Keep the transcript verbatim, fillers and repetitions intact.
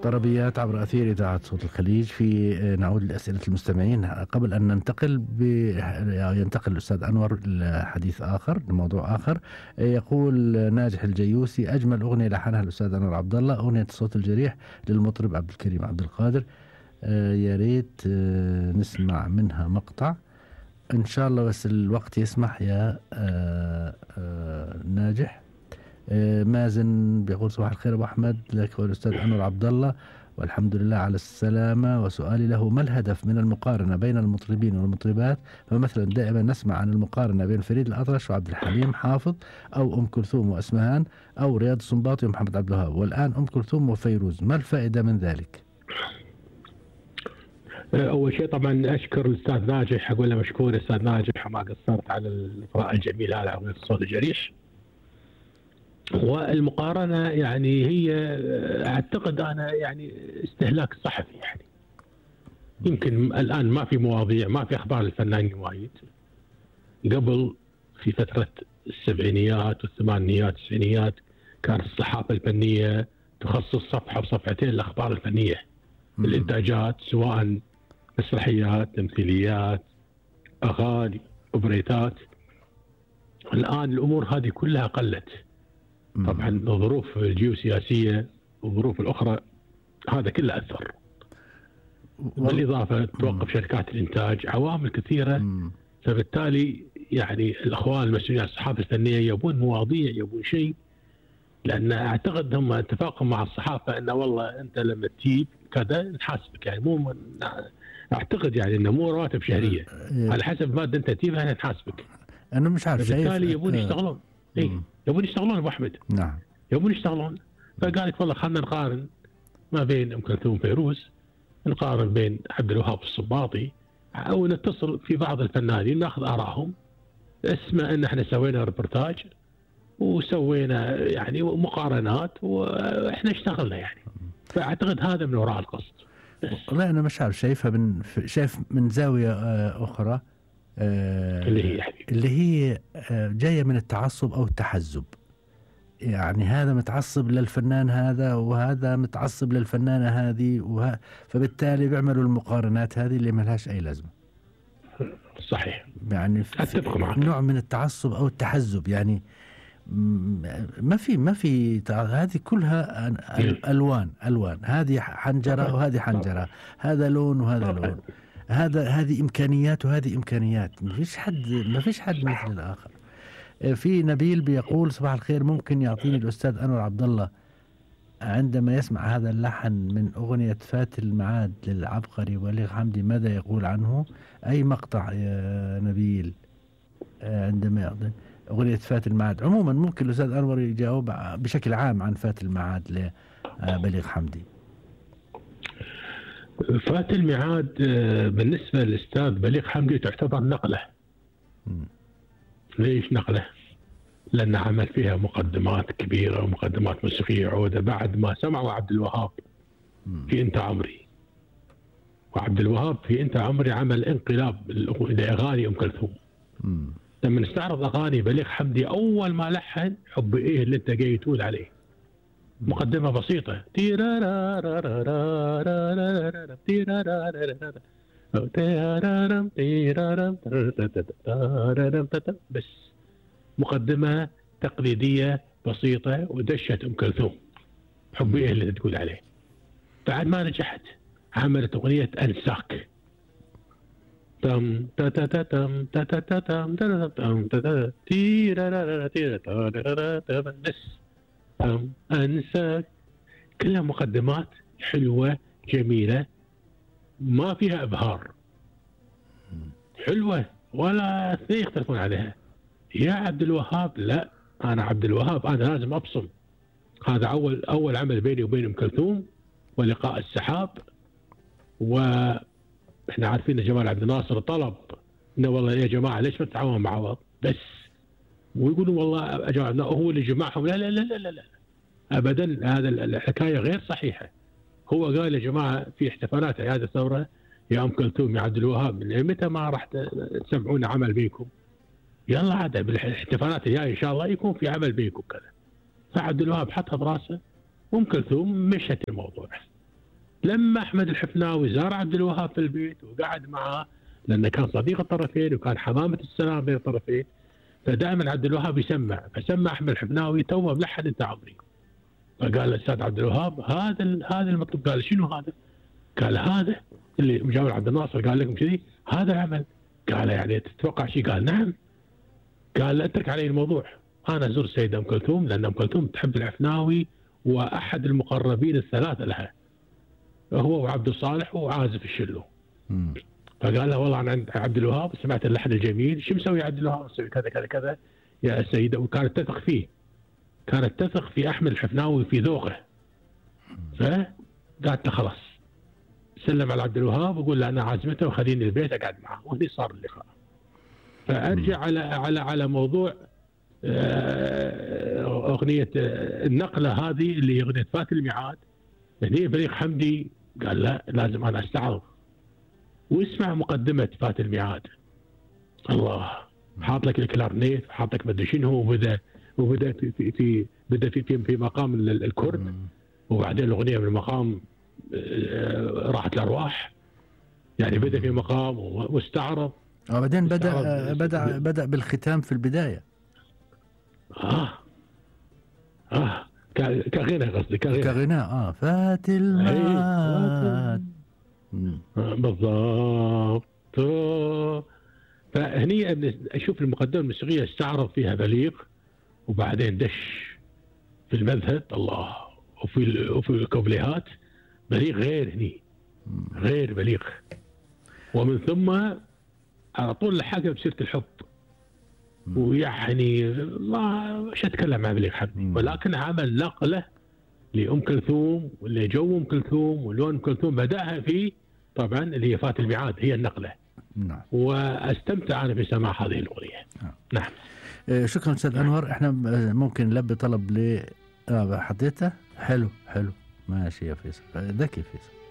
طربيات عبر أثير إذاعة صوت الخليج. في نعود لأسئلة المستمعين قبل أن ننتقل ب... ينتقل الأستاذ أنور لحديث آخر لموضوع آخر. يقول ناجح الجيوسي: أجمل أغنية لحنها الأستاذ أنور عبد الله أغنية الصوت الجريح للمطرب عبد الكريم عبد القادر. يا ريت نسمع منها مقطع إن شاء الله، بس الوقت يسمح يا آآ آآ ناجح. مازن بيقول: صباح الخير أبو أحمد، لك والأستاذ أنور عبد الله والحمد لله على السلامة. وسؤالي له: ما الهدف من المقارنة بين المطربين والمطربات؟ فمثلا دائما نسمع عن المقارنة بين فريد الأطرش وعبد الحليم حافظ، أو أم كلثوم وأسمهان، أو رياض السنباطي ومحمد عبد الوهاب، والآن أم كلثوم وفيروز. ما الفائدة من ذلك؟ أول شيء طبعا أشكر الأستاذ ناجح، أقول له مشكور أستاذ ناجح وما قصرت على الإطراء الجميل هذا أغنية الصوت الجريح. والمقارنة يعني هي أعتقد أنا يعني استهلاك صحفي، يعني يمكن الآن ما في مواضيع، ما في أخبار الفنانين وايد. قبل في فترة السبعينيات والثمانينيات والتسعينيات كانت الصحافة الفنية تخصص صفحة وصفحتين الأخبار الفنية، الإنتاجات سواء مسرحيات، تمثيليات، أغاني، أوبريتات. الآن الأمور هذه كلها قلت طبعا، الظروف الجيوسياسية والظروف الأخرى هذا كله أثر. بالإضافة توقف شركات الإنتاج، عوامل كثيرة. مم. فبالتالي يعني الأخوان المسؤولين عن الصحافة الفنية يبون مواضيع، يبون شيء، لأن أعتقد هم اتفاقهم مع الصحافة أنه والله أنت لما تجيب كذا نحاسبك، يعني مو من أعتقد يعني أنه مو رواتب شهرية، على حسب مادة أنت تجيبها نحاسبك. أنا مش عارف، بالتالي يبون يشتغلون. إيه يبون يشتغلون أبو أحمد. نعم يبون يشتغلون. فقال لك والله خلنا نقارن ما بين أم كلثوم وفيروز، نقارن بين عبد الوهاب والسنباطي، أو نتصل في بعض الفنانين ناخذ آرائهم. اسمع أن احنا سوينا ريبورتاج وسوينا يعني مقارنات واحنا اشتغلنا يعني. فاعتقد هذا من وراء القصد. والله انا مش عارف، شايفها من شايف من زاويه اخرى اللي هي يعني. اللي هي جايه من التعصب او التحزب. يعني هذا متعصب للفنان هذا وهذا متعصب للفنانه هذه، وه... فبالتالي بيعملوا المقارنات هذه اللي ما لهاش اي لازمه. صحيح، يعني اتفق معك. نوع من التعصب او التحزب، يعني ما في ما في هذه كلها الوان الوان، هذه حنجره وهذه حنجره، هذا لون وهذا لون، هذا هذه امكانيات وهذه امكانيات. ما فيش حد ما فيش حد مثل الاخر. في نبيل بيقول: صباح الخير، ممكن يعطيني الاستاذ انور عبد الله عندما يسمع هذا اللحن من اغنيه فات الميعاد للعبقري بليغ حمدي ماذا يقول عنه؟ اي مقطع يا نبيل عندما يعطي أغنية فات الميعاد؟ عموما ممكن الأستاذ أنور يجاوب بشكل عام عن فات الميعاد لبليغ حمدي. فات الميعاد بالنسبة للأستاذ بليغ حمدي تعتبر نقلة. م. ليش نقلة؟ لأن عمل فيها مقدمات كبيرة ومقدمات موسيقية عودة بعد ما سمعوا عبد الوهاب م. في أنت عمري. وعبد الوهاب في أنت عمري عمل انقلاب لأغاني أم كلثوم. م. لما نستعرض أغاني بليغ حمدي أول ما لحن حب إيه اللي أنت جاي تقول عليه، مقدمة بسيطة بس مقدمة تقليدية بسيطة ودشت أم كلثوم حب إيه اللي تقول عليه. بعد ما نجحت عملت أغنية أنساك، تم تا تا تا تم تا تا تا تم تا تم تا تا تيرا را تيرا تا بس تم أنساك. كلها مقدمات حلوة جميلة ما فيها إبهار، حلوة ولا اثنين يختلفون عليها. يا عبد الوهاب لا، أنا عبد الوهاب أنا لازم أبصم. هذا أول أول عمل بيني وبين أم كلثوم ولقاء السحاب. و احنا عارفين ان جمال عبد الناصر طلب انه والله يا جماعه ليش ما تتعاونوا مع بعض بس، ويقولوا والله جماعة هو اللي جمعهم. لا لا لا لا لا ابدا، هذا الحكايه غير صحيحه. هو قال يا جماعه في احتفالات اعياد الثوره يا ام كلثوم يا عبد الوهاب متى ما راح تسمعون عمل بينكم؟ يلا عاد بالاحتفالات الجايه ان شاء الله يكون في عمل بينكم كذا. فعبد الوهاب حطها براسه وام كلثوم مشت الموضوع. لما احمد الحفناوي زار عبد الوهاب في البيت وقعد معاه، لانه كان صديق الطرفين وكان حمامه السلام بين الطرفين، فدائما عبد الوهاب يسمع، فسمع احمد الحفناوي توه ملحن انت عمري، فقال الاستاذ عبد الوهاب هذا هذا المطلوب. قال شنو هذا؟ قال هذا اللي مجاور عبد الناصر قال لكم كذي، هذا العمل. قال يعني تتوقع شيء؟ قال نعم. قال اترك علي الموضوع، انا ازور السيده ام كلثوم لان ام كلثوم تحب الحفناوي واحد المقربين الثلاثه لها، هو وعبد الصالح وعازف الشلو. مم. فقال له والله انا عند عبد الوهاب سمعت اللحن الجميل، شو مسوي عبد الوهاب؟ مسوي كذا كذا كذا يا سيده، وكانت تثق فيه، كانت تثق في احمد الحفناوي في ذوقه. فقالت له خلاص سلم على عبد الوهاب وقول له انا عازمته وخليني البيت اقعد معه، وهني صار اللقاء. فارجع على على على موضوع اغنيه النقله هذه اللي هي اغنيه فات الميعاد. هني بليغ حمدي قال لا لازم انا استعرض واسمع مقدمه فات الميعاد. الله، حاط لك الكلارنيت، حاط لك مدري شنو، وبدا وبدا في في, في بدا في في, في مقام الكرد، وبعدين الاغنيه من مقام راحت الارواح، يعني بدا في مقام واستعرض، وبعدين بدا بدا بدا بالختام في البدايه. اه اه كغنى قصدي كغنى كغناء اه فات الميعاد بالضبط. فهني اشوف المقدمه الموسيقيه استعرض فيها بليغ، وبعدين دش في المذهب الله، وفي وفي الكوبليهات بليغ غير هني، غير بليغ. ومن ثم على طول لحقها بسيره الحب، ويعني ما مش اتكلم عن بليغ حمدي، ولكن عمل نقله لام كلثوم ولجو ام كلثوم ولون ام كلثوم، بداها في طبعا اللي هي فات الميعاد هي النقله. نعم. واستمتع انا بسماع هذه الاغنيه. نعم. نعم. شكرا استاذ انور. احنا ممكن نلبي طلب ل آه حطيته. حلو حلو ماشي يا فيصل، ذكي فيصل.